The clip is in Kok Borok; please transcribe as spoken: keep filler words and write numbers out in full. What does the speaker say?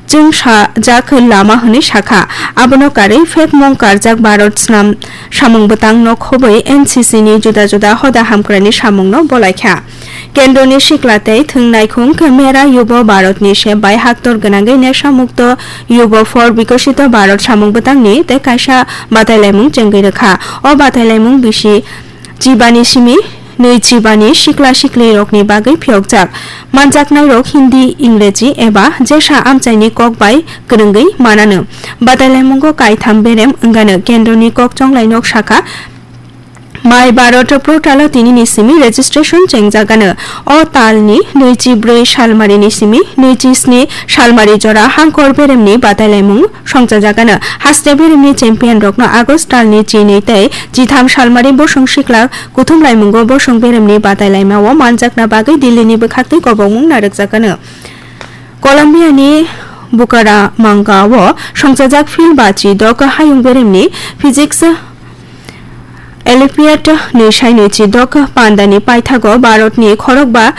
chwngsajak lama hwnwi sakha. Abono karwi phekmung karjak Bharat snam samung bwtangno khobwi N C C ni juda juda hoda hamkrai ni samungno bolaikha. Kendroni sikla tei thwng naikhung khe Mera Yubo Bharatni se bai haktor gwnangwi Nesha Mukto Yubo for Bikosito Bharat samung bwtangni tei kaisa batailaimung chengwi rwkha. O batailaimung bisi chibani simi nwi chibani sikla siklirokni bagwi phiyokjak. Manjaknairok Hindi, Ingreji eba jesa amchaini kok bai kwrwngwi manano. Batailaimungo kaitham berem wngano. Kendroni kok chonglai nok sakha, Mai Bharat portalo tinini simi registration chengjagano. O talni nwichi bwrwi salmarini simi nwichi sni salmari jora hangkor beremni batailaimung songchajagano. Haste beremni champion rokno August talni chinwi tei chitham salmari bosong sikla kuthum laimungo bosong beremni batailaimao manjakna bagwi Delhini bwkhaktwi kobokmung narwkjakano. Colombia ni Bucaramanga o songchajak field bachi dok hayung beremni physics Olympiad nwi sai nwi chi dok pandani paithago Bharatni khorokba